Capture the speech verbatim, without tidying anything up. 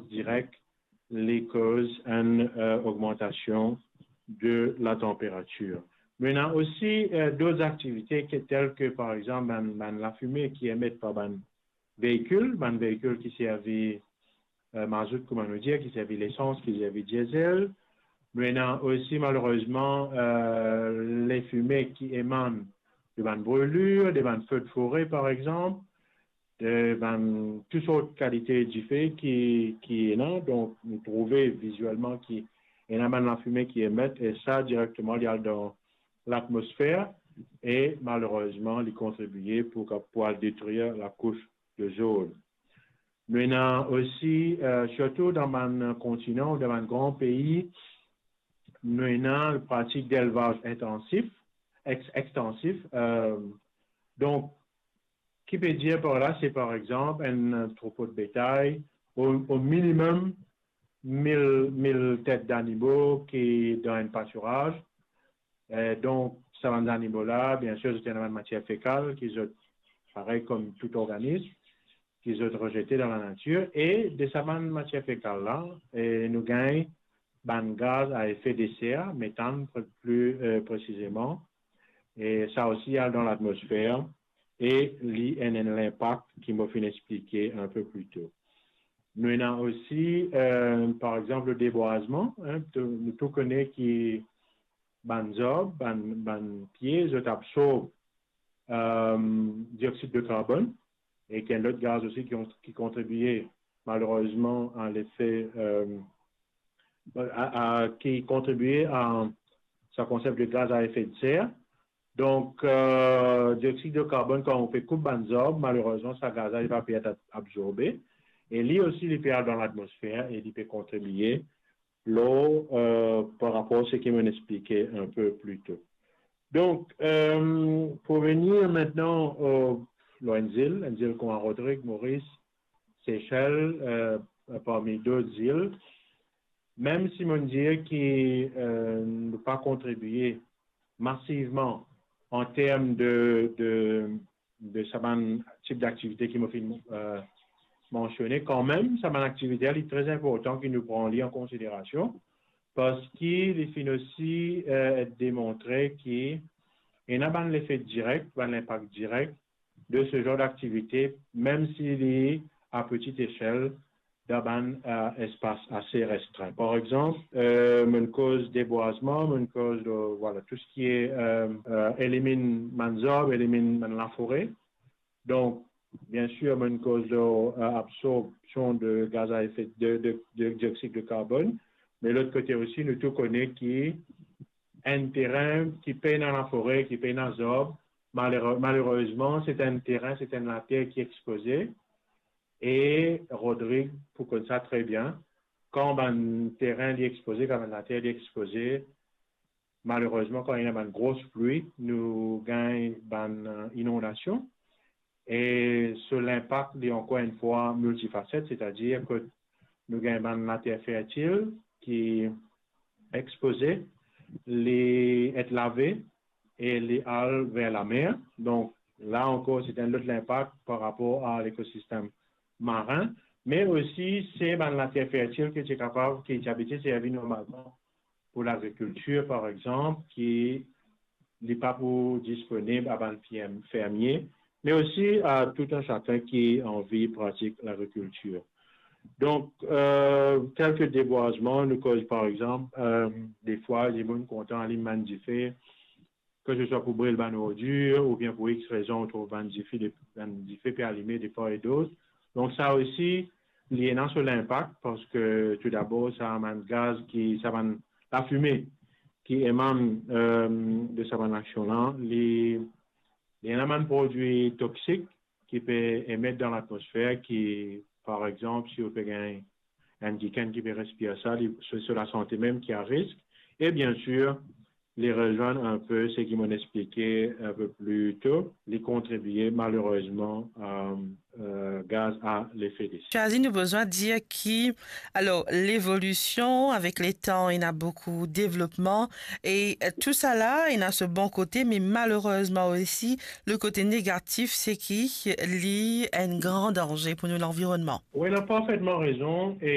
direk li koz enn, euh, ogmantasion de la tanperatir. Nou ena osi, euh, dot aktivite ki, tel ke, par exanp, bann, bann lafime ki emet par bann veikil, bann veikil ki servi, euh, mazout, kouma nou dir, ki servi lesans, ki servi diesel. Nou ena osi, malerezman, euh, lefime ki emann de bann brilir, de bann fe de fore, par exanp, de bann tou sort kalite dife ki, ki ena. Donk, nou trouve vizielman ki ena bann lafime ki emet, e sa, direkteman, li al dan latmosfer, e malerezman, li kontribie pou, pou al detrir lakous de ozon. Nou ena osi, euh, sirtou dan bann kontinan ou dan bann gran pei, nou ena pratik delvaz entansif, ex-, extansif. Euh, donk, ki pe dir par la, se par exanp enn troupo de betay, o, o minimem mil, mil tet zanimo ki dan enn patiraz. Eh, donk, sa bann zanimo la, biensir, zot ena bann matier fekal ki zot, parey kom tou organism, ki zot rezete dan lanatir, e de sa bann matier fekal la, eh, nou gagn bann gaz a efe de ser, metann pre-, pli, eh, presizeman, e sa osi al dan latmosfer, e li ena enn linpak ki mo finn explike enn pe pli to. Nou ena osi, eh, par exanp, le debwazman, en, tou, nou tou kone ki bann zarb, bann, bann pie, zot absorb, eh, dioxid de karbonn, e ki enn lot gaz osi ki, ki kontribie malerezman a lefe, eh, a, a, ki kontribie a sa konsep de gaz a efe de ser. Donk, eh, dioxid de karbonn, kan ou pe koup bann zarb, malerezman, sa gaz la, li pa pe et absorbe. E li osi, li pe al dan latmosfer e li pe kontribie lor, eh, par rapor seki mo'nn explike enn pe pli to. Donk, eh, pou vini aster, eh, lor enn zil, enn zil kouma Rodrig, Moris, Sesel, eh, parmi dot zil, mem si mo'nn dir ki, eh, nou pa kontribie masivman an term de, de, de sa bann tip daktivite ki mo finn, eh, mansione, kanmem, sa bann aktivite la, li tre inportan ki nou pran li an konsiderasion, parski li finn osi, eh, demontre ki ena bann lefe direk, bann linpak direk de se zanr daktivite, mem si li a peti esel, dan bann, eh, espas ase restrin. Par exanp, eh, mo'nn koz debwazman, mo'nn koz, eh, vwala, tou seki, eh, eh, eliminn bann zarb, eliminn bann lafore. Donk, biensir, mo'nn koz, eh, absorpsion de gaz a efe de, de, de dioxid de karbonn, me lot kote osi, nou tou kone ki enn terin ki pena lafore, ki pena zarb, malere-, malerezman, se enn terin, se enn later ki expoze, e Rodrig pou konn sa tre bien. Kan bann terin li expoze, kan bann later li expoze, malerezman, kan ena bann gros pli, nou gagn bann, eh, inondasion. E so linpak, li ankor enn fwa miltifaset, setadir ke nou gagn bann later fertil ki expoze, li et lave e li al ver lamer. Donk, la ankor, se enn lot linpak par rapor a lekosistem marin, me osi se bann later fertil ki ti kapav, ki ti abitie servi normalman pou lagrikiltir, par exanp, ki li pa pou disponib a bann ferm-, fermie, me osi a tou enn sakenn ki anvi pratik lagrikiltir. Donk, eh, tel ke debwazman, nou koz, par exanp, eh, defwa, dimoun kontan alim bann dife, ke se swa pou bril bann ordir, oubien pou X rezon, ou trouv bann dife, de, bann dife pe alime de par e dot. Donk, sa osi, li ena so linpak, parski, tou dabor, sa bann gaz ki, sa bann lafime ki emann, eh, de sa bann aksion la, li, li ena bann prodwi toksik ki pe emet dan latmosfer, ki, par exanp, si ou pe gagn enn kikenn ki pe respir sa, li, se, se lasante mem ki a risk. E biensir, li rezwenn enn pe seki mo'nn explike enn pe pli to, li kontribie malerezman a, eh, gaz a lefe de ser. Chazi, nou bizin dir ki, alor, levolision avek letan, ena boukou devlopman, e, eh, tou sa la, ena so bon kote, me malerezman osi, le kote negatif, se ki li enn gran danze pou nou lanvironnman. Wi, ou ena parfetman rezon, e